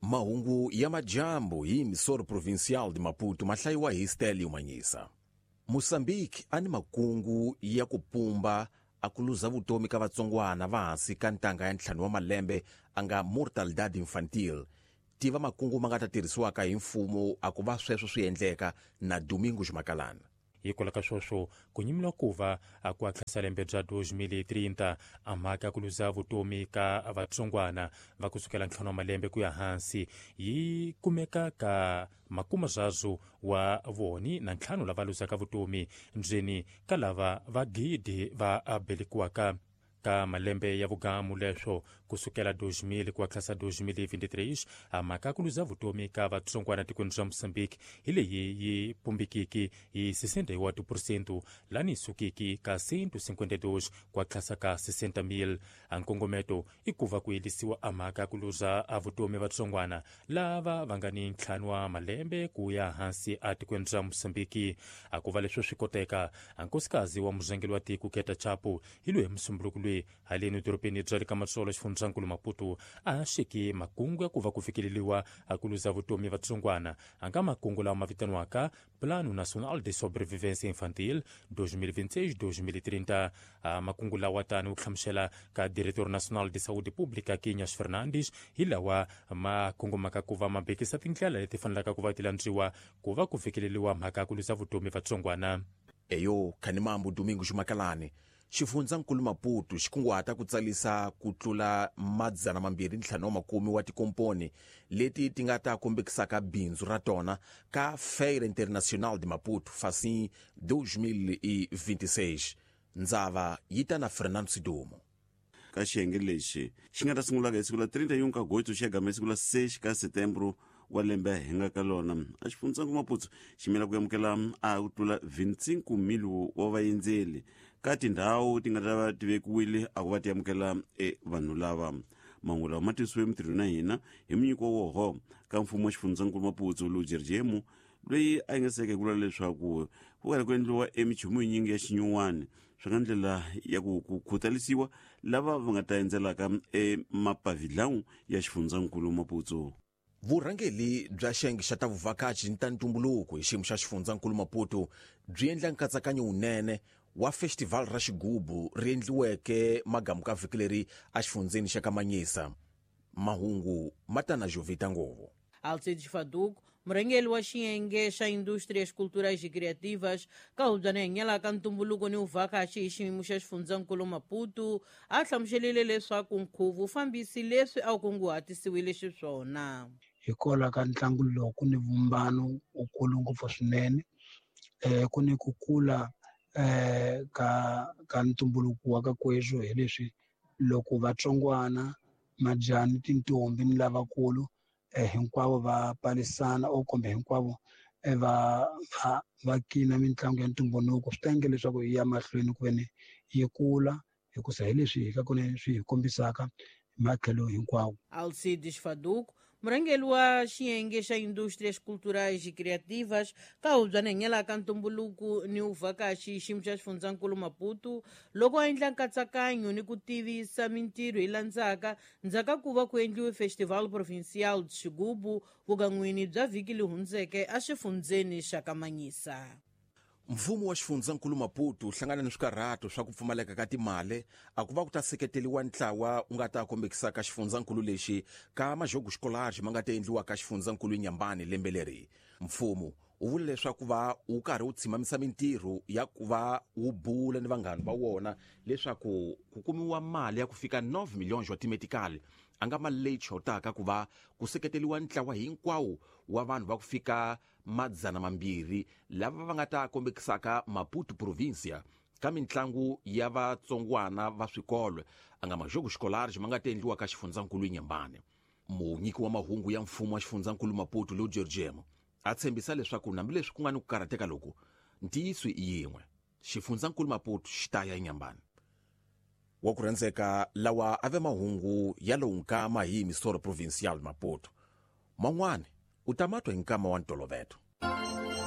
Mahungu ya majambu hi Emissora Provincial de Maputo ma hlayiwa hi Stelio Manyisa. Mozambique a ni makungu ya ku pumba a ku luza vutomi ka vatsongwana va hansi ka ntanga ya 5 wa malembe a nga mortalidade infantil. Tiva makungu ma nga ta tirhisiwaka hi mfumo a ku va sweswo swi endleka na Domingos Makalana. Hikwalaho ka sweswo, ku nyimiwa ku va a ku hatlisa lembe bya 2030, a mhaka ya ku luza vutomi ka vatsongwana va kusukela 5 wa malembe ku ya hansi yi kumeka ka makumazazu wa voni na 5 lava luzaka vutomi ndzeni ka lava va gidi va belekiwaka ka malembe ya vugamu leswo kusukela 2000 ku hatlisa 2023. A mhaka ku luza vutomi ka vatsongwana tikweni bya Mozambique hi leyi yi pumbikiki hi 61% lani sukiki ka 152 ku hatlisa ka 60,000. A nkongometo i ku va ku yelisiwa a mhaka ku luza a vutomi vatsongwana lava va nga ni 5 wa malembe ku ya hansi a tikweni bya Mozambique. A ku va leswo swi koteka, a nkosikazi wa murhangeri wa tiko Keta Chapo hi loyi musumbunuko loyi haleni dorobeni bya le ka Matsolo xifundzankulu Maputo a xeki makungu ya ku va ku fikeleriwa a ku luza vutomi vatsongwana a nga makungu lawa ma vitaniwaka Plano Nacional de Sobrevivência Infantil 2026-2030. A makungu lawa tani u hlamusela ka Diretor Nacional de Saúde Pública Quinhas Fernandes hi lawa ma kongomaka ku va ma bekisa tindlela leti fanelaka ku va ti landziwa ku va ku fikeleriwa mhaka ya ku luza vutomi vatsongwana. Eyo Khanimambu Domingos Makalani. Xifundzankulu Maputo xi kunguhata ku tsalisa ku tlula 250 wa tikomponi leti ti nga ta kombekisaka bindzu ra tona ka Feira Internacional de Maputo Facim 2026. Ndzava yi ta na Fernando Sidumo. Ka xiyenge lexi xi nga ta sungulaka hi siku la 31 ka Agosto xi ya gama hi siku la 6 ka Setembro wa lembe hi nga ka lona, a xifundzankulu Maputo xi mela ku amukela a ku tlula 25,000 wa vaendzeli ka tindhawu ti nga ta va ti vekiwile a ku va ti amukela e vanhu lava. Mahungu lawa ma tisiwe mintirhweni na hina hi munyiko woho ka mfumo wa xifundzankulu Maputo Lujerjemu, loyi a yingiseke hi ku vula leswaku ku karhi ku endliwa emichumu yinyingi ya xinyuwani swi nga ndlela ya ku ku khutalisiwa lava va nga ta endzelaka emapavilhawu ya xifundzankulu Maputo. Vurhangeri bya xiyenge xa ta vuvhakachi ni ta ntumbuluko hi xiyimo xa xifundzankulu Maputo byi endla nkatsakanyo wunene wa festival ra xigubu ri endliweke magamu ka vhiki leri exifundzeni xa ka Manyisa. Mahungu ma ta na Jovita Ngovo. Alcides Faduco, murhangeri wa xiyenge xa Indústrias Culturais e Criativas ka hubyana hi nyala ka ntumbuluko ni vuvhakachi hi xiyimo xa xifundzankulu Maputo, a hlamuselile leswaku nkhuvo wu fambisi leswi a wu kunguhatisiwile xiswona. Hikwalaho ka ntlangu lowu ku ni vumbano wukulu ngopfu swinene, ku ni ku kula ka ntumbuluko wa ka kweswo hi leswi loko vatsongwana majani tintombi ni lavakulu hinkwavo va palisana o kumbe hinkwavo va kina mitlangu ya ntumbuluko, swi ta endla leswaku yi ya mahlweni ku ve ni yi kula hikusa hi leswi hi ka kona swi hi kombisaka hi matlhelo hinkwawo. Alcides Faduco, murhangeri wa xiyenge xa Indústrias Culturais e Criativas ka hubyana hi nyala ka ntumbuluko ni vuvhakachi xiyimo xa xifundzankulu Maputo, loko a endla nkatsakanyo ni ku tivisa mintirho yi landzaka ndzhaka ku va ku endliwe Festival Provincial de Xigubu vukan'wini bya vhiki li hundzeke exifundzeni xa ka Manyisa. Mfumo wa xifundzankulu Maputo wu hlangana ni swikarhato swa ku pfumaleka ka timali a ku va ku ta seketeliwa ntlawa wu nga ta kombekisaka xifundzankulu lexi ka majogo xikolari ma nga ta endliwa ka xifundzankulu Nyambani lembe leri. Mfumo wu vula leswaku va wu karhi wu tshimamisa mintirho ya ku va wu bula ni vanghana va wona leswaku ku kumiwa mali ya ku fika 9 milhões wa timetikali, a nga mali leyi chotaka ku va ku seketeliwa ntlawa hinkwawo wa vanhu va ku fika 200 lava va nga ta kombekisaka Maputo Provincia ka mitlangu ya vatsongwana va swikolo a nga majogo xikolari ma nga ta endliwa ka xifundzankulu Nyambani. Munyiki wa mahungu ya mfumo wa xifundzankulu Maputo Lou Georgiemo a tshembisa leswaku hambileswi ku nga ni ku karhateka loku, ntiyiso i yin'we, xifundzankulu Maputo xi ta ya eNyambani. Wa ku rhandzeka lawa a ve mahungu ya lowu nkama hi Emissora Provincial Maputo. Man'wana u ta ma twa hi nkama wa ntoloveto.